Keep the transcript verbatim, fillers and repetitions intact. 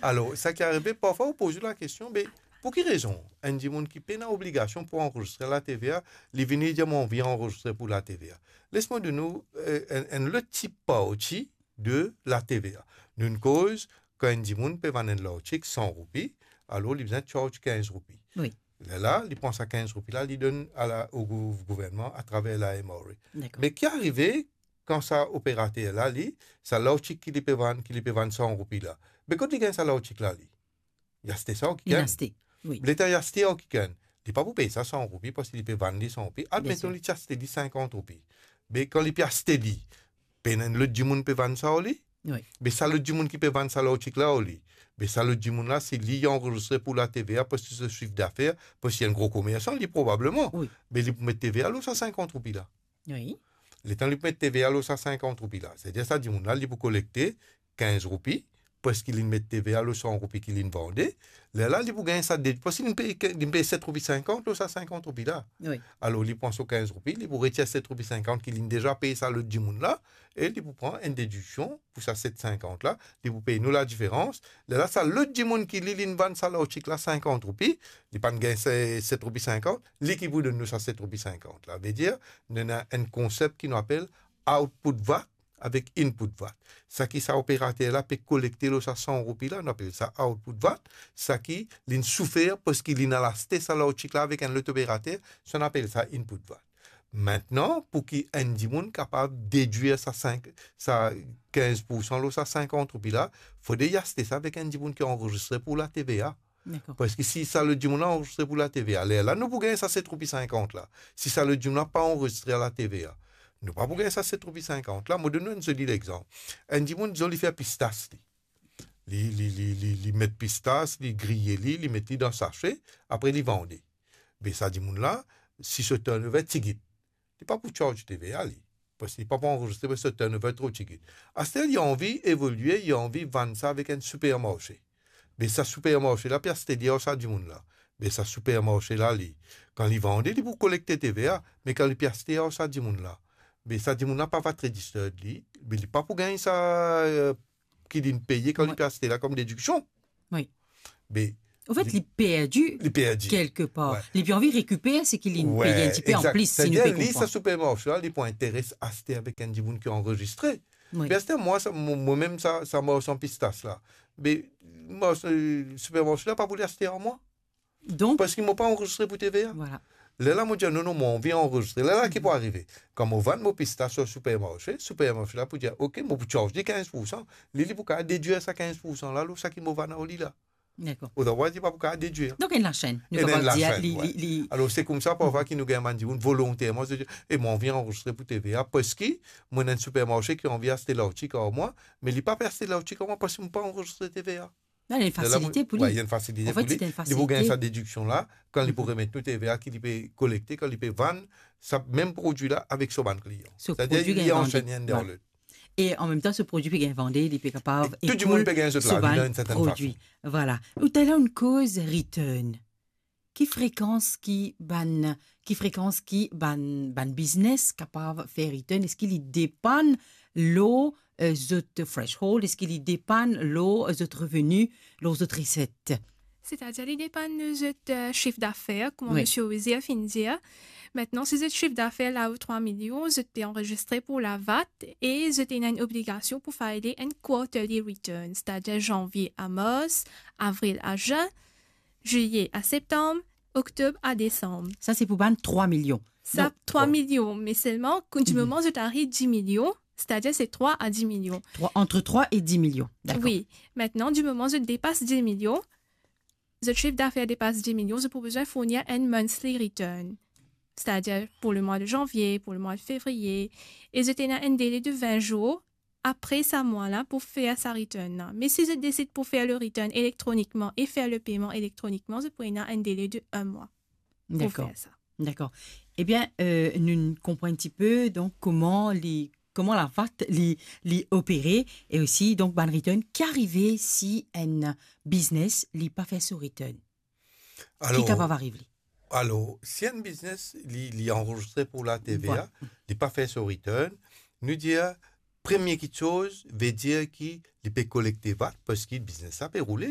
Alor, sa ki arive, parfwa ou poz ou lakestion, be, pou ki rezon enn dimoun ki pena obligasion pou anrezistre la T V A, li vini dir, "Mo anvi anrezistre pou la T V A"? Les mo donn ou, eh, enn, enn lot tip parti de la T V A. Nou'nn koz, kan enn dimoun pe vann enn lartik san roupi, alor li bizin charge kinz roupi. Wi. Lerla, li pran sa kinz roupi la, li donn a la, o gou-, gouvernman atraver la M R A. Dakor. Me ki arive kan sa operater la, li, sa lartik ki li pe vann, ki li pe vann san roupi la? Be kot li gagn sa lartik la, li? Li aste sa okikenn. Li aste, wi. Letan li aste okikenn, li pa pou pey sa san roupi parski li pe vann li san roupi. Admeton li ti aste li sinkant roupi. Be kan li pe aste li, pena enn lot dimoun pe vann sa ar li? Wi. Be sa lot dimoun ki pe vann sa lartik la ar li, be sa lot dimoun la, si li anrezistre pou la T V A, parski so sif dafer, parski enn gro komersan, li probableman. Wi. Be li pou met T V A lor sa sinkant roupi la. Wi. Letan li pou met T V A lor sa sinkant roupi la, setadir sa dimoun la, li pou kolekte kinz roupi, parski li met T V A lor san roupi ki li vande, lerla li pou gagn sa de, parski li pey, li pey set roupi sinkant lor sa sinkant roupi la. Wi. Alor, li pran so kinz roupi, li pou retir set roupi sinkant ki li deza pey sa lot dimoun la, e li pou pran enn dediksion pou sa set sinkant la, li pou pey nou ladiferans. Lerla, sa lot dimoun ki li, li vann sa lartik la sinkant roupi, li pa'nn gagn se set roupi sinkant, li ki pou donn nou sa set roupi sinkant la. Vedir, nou ena enn konsep ki nou apel output VAT avek input VAT. Sa ki sa operater la pe kolekte lor sa san roupi la, nou apel sa output VAT. Sa ki li'nn soufer parski li'nn al aste sa lartik la avek enn lot operater, sa nou apel sa input VAT. Mintnan, pou ki enn dimoun kapav dedwir sa sink, sa kinz poursan lor sa sinkant roupi la, fode li aste sa avek enn dimoun ki anrezistre pou la T V A. Dakor. Parski si sa lot dimoun la anrezistre pou la T V A, lerla nou pou gagn sa set roupi sinkant la. Si sa lot dimoun la pa anrezistre a la T V A, nou pa pou gagn sa set roupi sinkant la. Mo donn nou enn zoli lexanp. Enn dimoun, dizon, li fer pistas, li. Li, li, li, li, li met pistas, li griye li, li met li dan sase, apre li vande. Be sa dimoun la, si so turnover tigit, li pa pou charge T V A, li. Parski li pa pou anrezistre, parski so turnover tro tigit. Aster li anvi evolie, li anvi vann sa avek enn sipermarse. Be sa sipermarse la pe aste li ar sa dimoun la. Be sa sipermarse la, li, kan li vande, li pou kolekte T V A, me kan li pe aste ar sa dimoun la, be sa dimoun la pa VAT registered, li, be li pa pou gagn sa, eh, ki li'nn peye kan li pe aste la kom dediksion. Wi. Be anfet, li, li perdi, li perdi kelkepar. Wi. Li pe anvi rekiper seki li'nn peye enn tipe anplis, si nou pe konpran. Setadir, li, sa sipermarse la, li pou interes aste avek enn dimoun ki anrezistre. Wi. Be aster, mwa, sa, mo, mo mem sa, sa marsan pistas la. Be, mwa, sa, sipermarse la pa pou li aste ar mwa. Donk, parski mo pa anrezistre pou T V A. Vwala. Lerla mo dir, "Non, non, mo anvi anrezistre." Lerla ki pou arive? Kan mo vann mo pistas ar sipermarse, sipermarse la pou dir, "Ok, mo pou charge li kinz poursan." Li, li pou kapav dedwir sa kinz poursan la lor sa ki mo vann ar li la. Dakor. Otherwise, li pa pou kapav dedwir. Donk, enn lasenn. Nou kapav dir, li, li, li... Alor, se koumsa, parfwa, ki nou gagn bann dimoun volonterman, se dir, "E, mo anvi anrezistre pou T V A, parski mo ena enn sipermarse ki anvi aste lartik ar mwa, me li pa pe aste lartik ar mwa parski mo pa anrezistre T V A." Non, li ena enn fasilite pou li. Wi, li ena enn fasilite pou li. Anfet, se enn fasilite. Li pou gagn sa dediksion la, kan li pou remet nou T V A ki li pe kolekte, kan li pe vann sa mem prodwi la avek so bann klian. Setadir, li ansenn enn dan lot. E an mem tan, so prodwi pe gagn vande, li pe kapav ekoul so bann prodwi. E tou dimoun pe gagn zot lavi dan enn sertenn fason. Vwala. Ou taler ou'nn koz return. Ki frekans ki bann, ki frekans ki bann, bann biznes kapav fer return? Eski li depann lor, eh, zot threshold? Eski li depann lor zot reveni, lor zot reset? Setadir, li depann lor zot, eh, sif dafer, kouma Misie Ozier finn dir. Mintnan, si zot sif dafer lao trwa milion, zot pe anrezistre pou la VAT e zot ena enn obligasion pou file enn quarterly return, setadir zanvie a mars, avril a zin, zilie a septam, oktob a desam. Sa, se pou bann trwa milion. Sa, trwa milion, me selman, kan dimoman zot ariv dis milion, setadir se trwa a dis milion. Trwa, entre trwa e dis milion, dakor. Wi. Mintnan, dimoman zot depas dis milion, zot sif dafer depas dis milion, zot pou bizin fourni enn monthly return. Setadir pou lemwa de zanvie, pou lemwa de fevriye, e zot ena enn dele de vin zour apre sa mwa la pou fer sa return la. Me si zot desid pou fer le return elektronikman e fer le peyman elektronikman, zot pou ena enn dele de enn mwa pou fer sa. Dakor. Ebien, eh, nou konpran enn tipe, donk, kouma li, kouma la VAT li, li opere, e osi, donk, bann return ki arive si enn biznes li pa fer so return. Alor, ki kapav ariv li? Alor, si enn biznes li, li anrezistre pou la T V A, li pa fer so return, nou dir, premie kiksoz, vedir ki li pe kolekte VAT, parski biznes la pe roule,